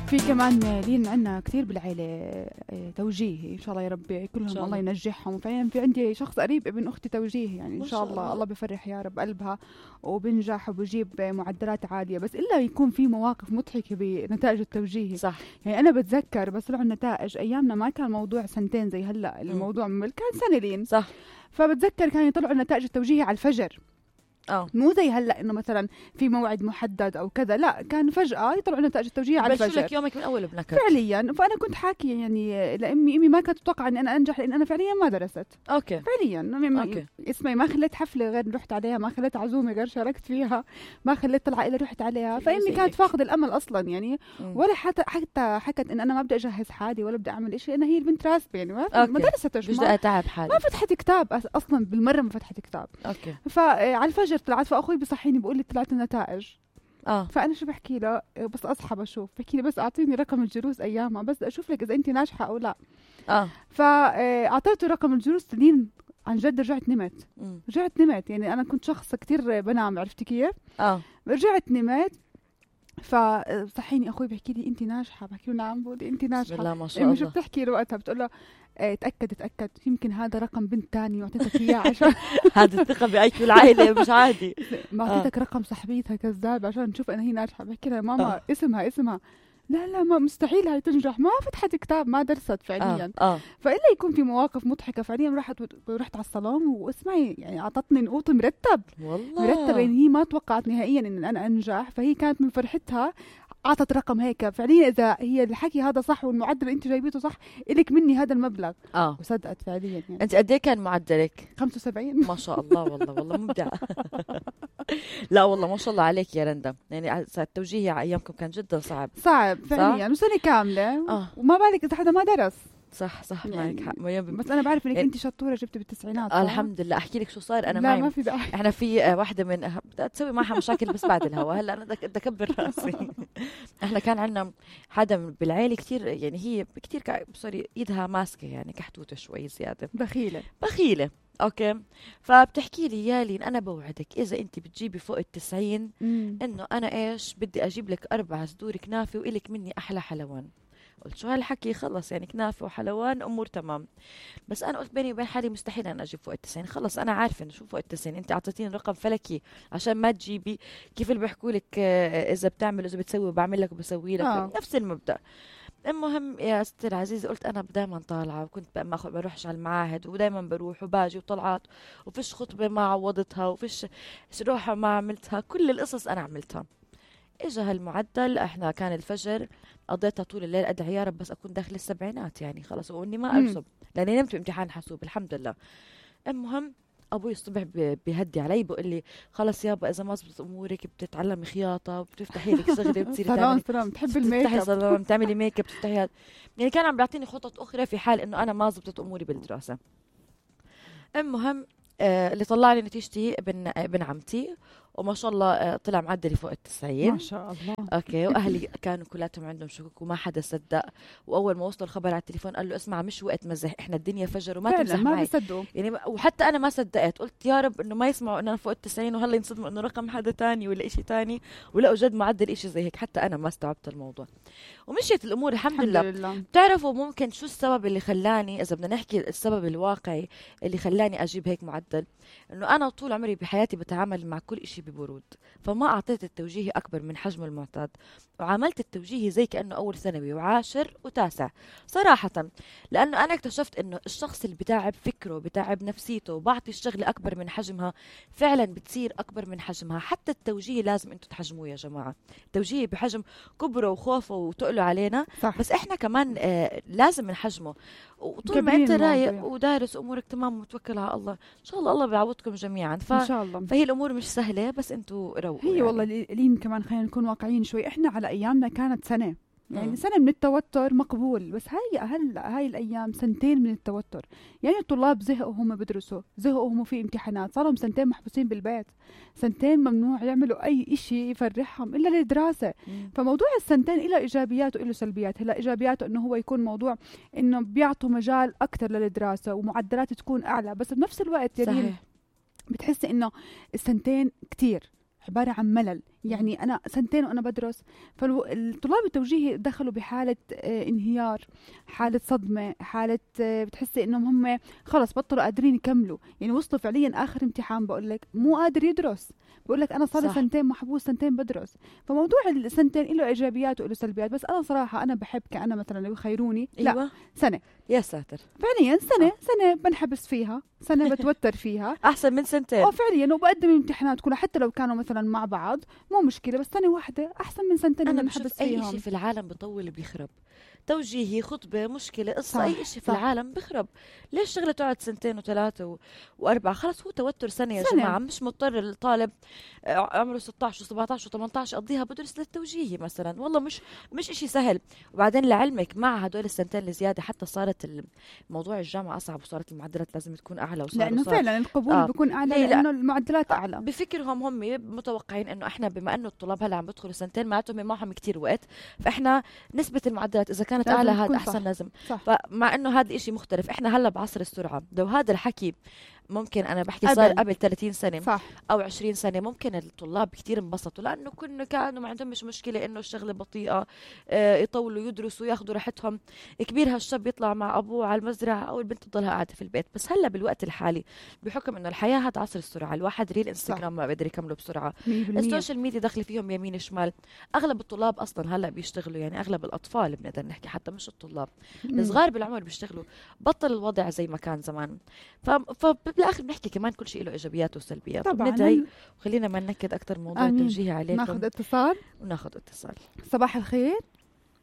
في كمان لين عنا كثير بالعيلة توجيهي إن شاء الله يا ربي كلهم الله ينجحهم. فعلا في عندي شخص قريب ابن أختي توجيهي يعني إن شاء الله الله بيفرح يا رب قلبها وبنجح وبجيب معدلات عالية، بس إلا يكون في مواقف مضحكة بنتائج التوجيهي. صح. يعني أنا بتذكر بس طلعوا النتائج أيامنا ما كان موضوع سنتين زي هلأ الموضوع كان سنة لين. صح. فبتذكر كان يطلعوا النتائج التوجيهي على الفجر. مو زي هلا انه مثلا في موعد محدد او كذا، لا كان فجأة يطلعوا نتائج التوجيهيه على الفجر. لك يومك من اول بنكت فعليا. فانا كنت حاكي يعني لامي ما كانت تتوقع اني انا انجح لان انا فعليا ما درست. اوكي. فعليا اسمعي ما خليت حفله غير رحت عليها، ما خليت عزومه غير شاركت فيها، ما خليت طلعه الا رحت عليها. فامي كانت فاقده الامل اصلا يعني ولا حتى حكت ان انا ما بدي اجهز حالي ولا بدي اعمل شيء. انا هي البنت راسبه يعني ما درستش، مش تعب حالي، ما فتحت كتاب اصلا بالمره، ما فتحت كتاب. اوكي. فعلى الفجر طلعت، فاخوي بصحيني بقول لي طلعت النتائج. فانا شو بحكي له بس اصحى بشوف، بحكي لي بس اعطيني رقم الجلوس ايامها بس اشوف لك اذا انت ناجحه او لا. فاعطيته رقم الجلوس لين عن جد رجعت نمت. يعني انا كنت شخص كتير بنام، عرفتي كيف؟ رجعت نمت. فصحيني اخوي بحكي لي انت ناجحه، بحكي له نعم. بقول لي انت ناجحه. بسم الله ما شاء الله. شو بتحكي له وقتها؟ بتقول له تأكد يمكن هذا رقم بنت تاني واعطيتك اياه عشان هذا الثقة بأيكو العائلة مش عادي. ما اعطيتك رقم صاحبيتها كذاب عشان نشوف انا هي ناجحة. بحكي لها ماما اسمها لا ما مستحيل هاي تنجح، ما فتحت كتاب، ما درست فعليا. فإلا يكون في مواقف مضحكة فعليا. رحت على الصالون واسمعي يعني اعطتني نقوط مرتب يعني هي ما توقعت نهائيا ان انا انجح، فهي كانت من فرحتها عطت رقم هيك فعليا. اذا هي الحكي هذا صح والمعدل اللي انت جايبيته صح إلك مني هذا المبلغ. وصدقت فعليا يعني. انت قد ايه كان معدلك؟ 75. ما شاء الله. والله مبدع. لا والله ما شاء الله عليك يا رندا. يعني التوجيهي على ايامكم كان جدا صعب فعليا وسنه كامله. وما بالك اذا حدا ما درس. صح يعني معك حق. بس انا بعرف انك انت شطوره، جبتي بالتسعينات. الحمد لله. احكي لك شو صار. انا لا ما في داعي. احنا في واحده من بدها تسوي معها مشاكل بس بعد الهوا. هلا انا بدي اكبر راسي. احنا كان عندنا حدا بالعيله كثير يعني هي كثير سوري ايدها ماسكه يعني كحتوته شوي زياده، بخيله. اوكي. فبتحكي لي يا لين انا بوعدك اذا انت بتجيبي فوق 90 انه انا ايش بدي اجيب لك 4 صدور كنافه والك مني احلى حلوان. قلت شو هالحكي؟ خلص يعني كنافه وحلوان امور تمام. بس انا قلت بيني وبين حالي مستحيل انا اجيب فوق 90. خلص انا عارفه انه شو فوق 90. انت اعطيتيني رقم فلكي عشان ما تجيبي. كيف اللي بيحكوا لك اذا بتعمل اذا بتسوي بعمل لك وبسوي لك. نفس المبدا. المهم يا ستي العزيزه قلت انا دائما طالعه، وكنت ما بروحش على المعاهد ودائما بروح وباجي وطلعات، وفيش خطبه ما عوضتها وفيش روحه ما عملتها. كل القصص انا عملتها. اجى هالمعدل. احنا كان الفجر قضيتها طول الليل ادعي يا رب بس اكون داخل السبعينات يعني خلص، واني ما ارسب لاني نمت بامتحان حاسوب الحمد لله. المهم ابوي الصبح بيهدي علي بقول لي خلص يابا اذا ما زبطت امورك بتتعلمي خياطه وبتفتحي لك شغله وبتصيري سلام تحب الميك اب، بتعملي ميك اب، بتفتحي هذا. يعني كان عم بيعطيني خطط اخرى في حال انه انا ما زبطت اموري بالدراسه. المهم اللي طلع لي نتيجتي ابن عمتي، وما شاء الله طلع معدلي فوق 90 ما شاء الله. اوكي. واهلي كانوا كلاتهم عندهم شكوك وما حدا صدق. واول ما وصلوا الخبر على التليفون قال له اسمع مش وقت مزح، احنا الدنيا فجر وما تمزح معي. ما بيصدقوا يعني وحتى انا ما صدقت. قلت يا رب انه ما يسمعوا انه انا فوق 90 وهلا ينصدموا انه رقم حدا تاني ولا إشي تاني، ولقوا جد معدل إشي زي هيك. حتى انا ما استوعبت الموضوع ومشيت الامور الحمد لله. بتعرفوا ممكن شو السبب اللي خلاني، اذا بدنا نحكي السبب الواقعي اللي خلاني اجيب هيك معدل، انه انا طول عمري بحياتي بتعامل مع كل إشي ببرود. فما أعطيت التوجيهي أكبر من حجمه المعتاد، وعملت التوجيهي زي كأنه أول ثانوي وعاشر وتاسع صراحة. لأنه أنا اكتشفت إنه الشخص اللي بتاعب فكره بتاعب نفسيته وبعطي الشغلة أكبر من حجمها فعلا بتصير أكبر من حجمها. حتى التوجيهي لازم أنتوا تحجموه يا جماعة. التوجيهي بحجم كبره وخوفه وتقله علينا صح. بس إحنا كمان لازم نحجمه. وطول ما أنت رايق ودارس أمورك تمام ومتوكل على الله إن شاء الله بيعوضكم جميعا. إن شاء الله. فهي الأمور مش سهلة بس أنتوا روقوا. هي يعني. والله لين كمان خلينا نكون واقعيين شوي. إحنا على أيامنا كانت سنة يعني سنة من التوتر مقبول، بس هاي الأيام سنتين من التوتر. يعني الطلاب زهقوا هم بدرسوا، زهقوا هم في امتحانات، صاروا سنتين محبوسين بالبيت، سنتين ممنوع يعملوا أي إشي يفرحهم إلا الدراسة. فموضوع السنتين إله إيجابيات وإله سلبيات. هلا إيجابياته إنه هو يكون موضوع إنه بيعطوا مجال أكتر للدراسة ومعدلات تكون أعلى، بس بنفس الوقت يعني بتحس إنه السنتين كتير عبارة عن ملل. يعني أنا سنتين وأنا بدرس. فالطلاب التوجيهي دخلوا بحالة انهيار، حالة صدمة، حالة بتحسي إنهم هم خلص بطلوا قادرين يكملوا. يعني وصلوا فعليا آخر امتحان بقول لك مو قادر يدرس، بقول لك أنا صار لي سنتين محبوس، سنتين بدرس. فموضوع السنتين له إيجابيات وله سلبيات. بس أنا صراحة أنا بحب كأنا مثلا لو يخيروني لا سنة. يا ساتر، فعليا سنة بنحبس فيها، سنة بتوتر فيها أحسن من سنتين. فعليا. وبقدم الامتحانات كلها حتى لو كانوا مثلا مع بعض مو مشكلة، بس سنة واحدة أحسن من سنتين أنا بنحبس فيهم. أي شيء في العالم بطول بيخرب، توجيهي، خطبة، مشكلة، قصة، أي شيء في العالم بخرب. ليش شغلة تقعد سنتين وثلاثة وأربعة؟ خلص هو توتر سنة يا جماعة. مش مضطر الطالب عمره 16 و17 و18 قضيها بدرس للتوجيهي مثلا. والله مش إشي سهل. وبعدين لعلمك مع هدول السنتين الزيادة حتى صارت موضوع الجامعة أصعب، وصارت المعدلات لازم تكون أعلى، لأنه فعلا القبول بيكون أعلى لأنه المعدلات أعلى. بفكرهم هم متوقعين إنه إحنا بما إنه الطلاب هلا عم بدخلوا سنتين معناتهم معهم كتير وقت، فإحنا نسبة المعدلات إذا كانت أعلى هذا أحسن. لازم فمع إنه هذا إشي مختلف. إحنا هلا بعصر السرعة. لو هذا الحكي ممكن أنا بحكي صار قبل 30 سنة صح. أو 20 سنة ممكن الطلاب كتير انبسطوا، لأنه كانوا ما عندهم مش مشكلة إنه الشغلة بطيئة، يطولوا يدرسوا ياخدوا راحتهم. كبير هالشاب يطلع مع أبوه على المزرعة أو البنت تضلها قاعدة في البيت. بس هلا بالوقت الحالي بحكم إنه الحياة هذا عصر السرعة، الواحد ريل إنستغرام ما بقدر يكمله بسرعة، السوشيال ميديا داخل فيهم يمين شمال. أغلب الطلاب أصلا هلا بيشتغلوا، يعني أغلب الأطفال بنقدر نحكي حتى مش الطلاب الصغار بالعمر بيشتغلوا. بطل الوضع زي ما كان زمان. فبالآخر بنحكي كمان كل شيء له إيجابيات وسلبيات. طبعا وخلينا ما ننكد أكتر موضوع التوجيه عليكم. ناخذ اتصال. صباح الخير،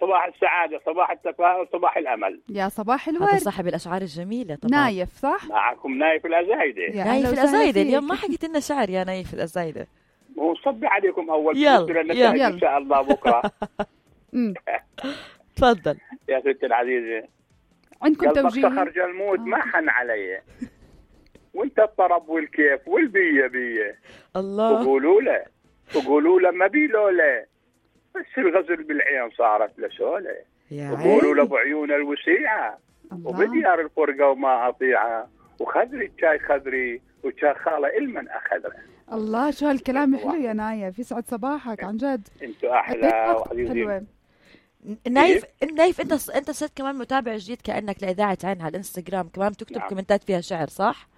صباح السعادة، صباح التفاؤل، صباح الأمل. يا صباح الورد. هذا صاحب الأشعار الجميلة طبعا. نايف صح؟ معكم نايف الأزايدة. نايف الأزايدة اليوم ما حكيت لنا شعر يا نايف الأزايدة. ونصبي عليكم أول يلا إن شاء الله بكرة. تفضل يا ستي العزيزة. عندكم توجيه؟ خرج الموت ما حن علي، وانت الطرب والكيف والبية بية. الله. وقولوا له ما بيلوله، بس الغزل بالعين صارت لسوله. وقولوا له بعيون الوسيعة وبديار الفرقة وما أطيعها، وخذري الشاي خذري وشاي خالة المن أخذره. الله شو هالكلام حلو يا نايف، يسعد صباحك عن جد. انتوا أحلى وعزيزين. نايف انت صرت كمان متابع جديد كأنك لإذاعة عين على الانستغرام، كمان بتكتب كومنتات فيها شعر صح؟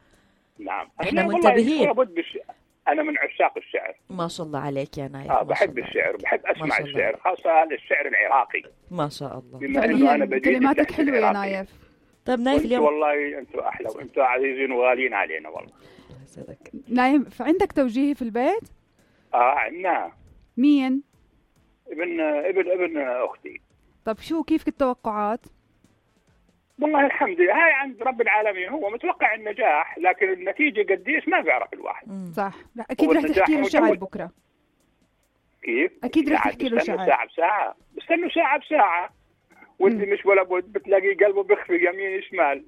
نعم احنا منتبهين. أنا من عشاق الشعر. ما شاء الله عليك يا نايف. بحب الشعر، بحب أسمع الشعر، خاصة الشعر العراقي. ما شاء الله. بما إنه أنا كلماتك حلوة يا نايف. طيب نايف اليوم والله أنتوا أحلى وأنتوا عزيزين وغاليين علينا والله. نايف عندك توجيهي في البيت؟ عندنا. مين؟ ابن أختي. طب شو كيف التوقعات؟ والله الحمد لله هاي عند رب العالمين، هو متوقع النجاح، لكن النتيجة قديش ما بيعرف الواحد. صح. لا أكيد رح تحكي له شعر بكرة. كيف؟ أكيد رح تحكي له شعر. ساعة بساعة، بستنوا ساعة بساعة، واللي مش ولا بد بتلاقي قلبه بيخفي يمين شمال،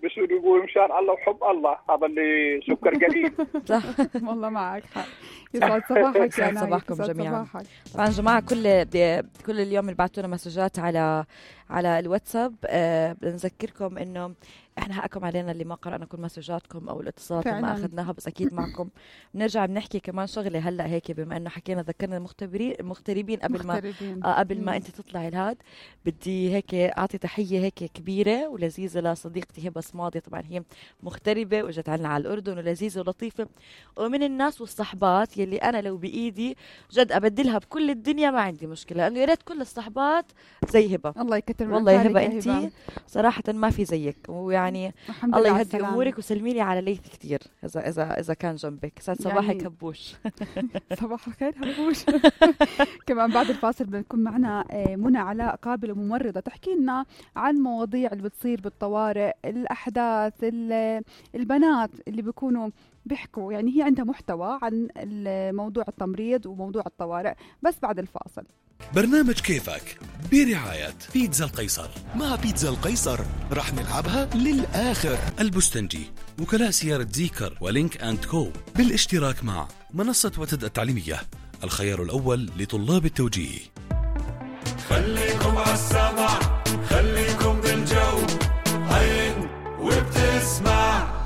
بس يقول مشان الله وحب الله، هذا اللي سكر قليل. صح والله معك حق. يسعد صباحك يا نايف. صباحكم جميعا. طبعا جماعة كل اليوم اللي بعتونا مسجات على الواتساب، بنذكركم انه احنا حقكم علينا اللي ما قرأنا كل مسجاتكم او الاتصالات اللي ما اخذناها، بس اكيد معكم بنرجع بنحكي كمان شغله هلا هيك، بما انه حكينا ذكرنا المغتربين قبل ما انت تطلعي الهاد. بدي هيك اعطي تحيه هيك كبيره ولذيذه لصديقتي هبه صمادي، طبعا هي مغتربه واجت عنا على الاردن ولذيذه ولطيفه، ومن الناس والصحبات يلي انا لو بايدي جد ابدلها بكل الدنيا ما عندي مشكله، لانه يا ريت كل الصحبات زي هبه. الله يكتر والله يا هبه انت صراحه ما في زيك، ويعني الله يهدي امورك وسلمي لي على ليث كثير اذا كان جنبك. صباحك يعني هبوش. صباح الخير هبوش. كمان بعد الفاصل بنكون معنا منى علاء قابله ممرضه تحكي لنا عن مواضيع اللي بتصير بالطوارئ، الاحداث، البنات اللي بيكونوا بيحكوا، يعني هي عندها محتوى عن موضوع التمريض وموضوع الطوارئ، بس بعد الفاصل. برنامج كيفك برعاية بيتزا القيصر. مع بيتزا القيصر رح نلعبها للآخر. البستنجي، وكلاء سيارة زيكر ولينك أند كو، بالاشتراك مع منصة وتد التعليمية، الخيار الأول لطلاب التوجيه. خليكم عالسمع، خليكم بالجو، عين وبتسمع.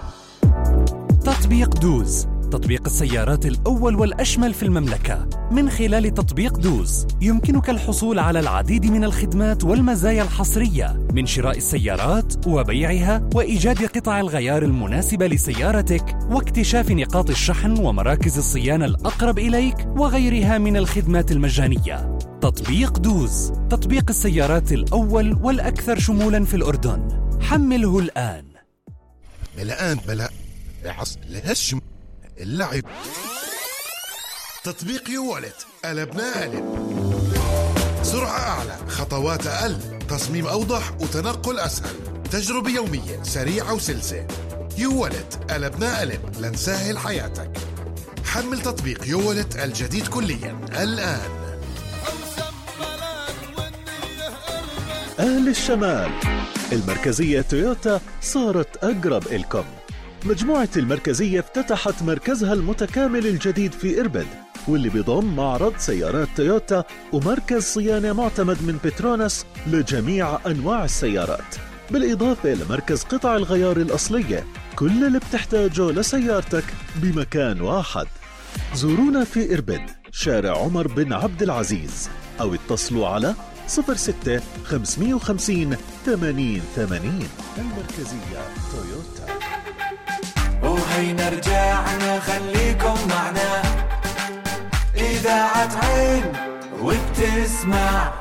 تطبيق دوز، تطبيق السيارات الأول والأشمل في المملكة من خلال تطبيق دوز. يمكنك الحصول على العديد من الخدمات والمزايا الحصرية من شراء السيارات وبيعها وإيجاد قطع الغيار المناسبة لسيارتك واكتشاف نقاط الشحن ومراكز الصيانة الأقرب إليك وغيرها من الخدمات المجانية. تطبيق دوز، تطبيق السيارات الأول والأكثر شمولاً في الأردن. حمله الآن. بلا لهش اللعب. تطبيق يوالت قلبنا قلب. سرعة أعلى، خطوات أقل، تصميم أوضح وتنقل أسهل، تجربة يومية سريعة وسلسة. يوالت قلبنا قلب لنسهل حياتك. حمل تطبيق يوالت الجديد كليا الآن. أهل الشمال، المركزية تويوتا صارت أقرب إلكم. مجموعة المركزية افتتحت مركزها المتكامل الجديد في إربد، واللي بيضم معرض سيارات تويوتا ومركز صيانة معتمد من بتروناس لجميع أنواع السيارات، بالإضافة لمركز قطع الغيار الأصلية. كل اللي بتحتاجه لسيارتك بمكان واحد. زورونا في إربد، شارع عمر بن عبد العزيز، أو اتصلوا على 06 550 8080. المركزية تويوتا. وهينا رجعنا خليكم معنا، إذاعة عين وبتسمع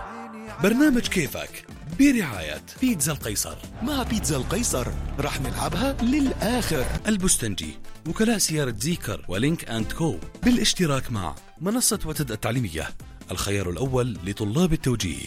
برنامج كيفك برعاية بيتزا القيصر. مع بيتزا القيصر رح نلعبها للآخر. البستنجي، وكلاء سيارة زيكر ولينك أند كو، بالاشتراك مع منصة وتد التعليمية، الخيار الأول لطلاب التوجيه.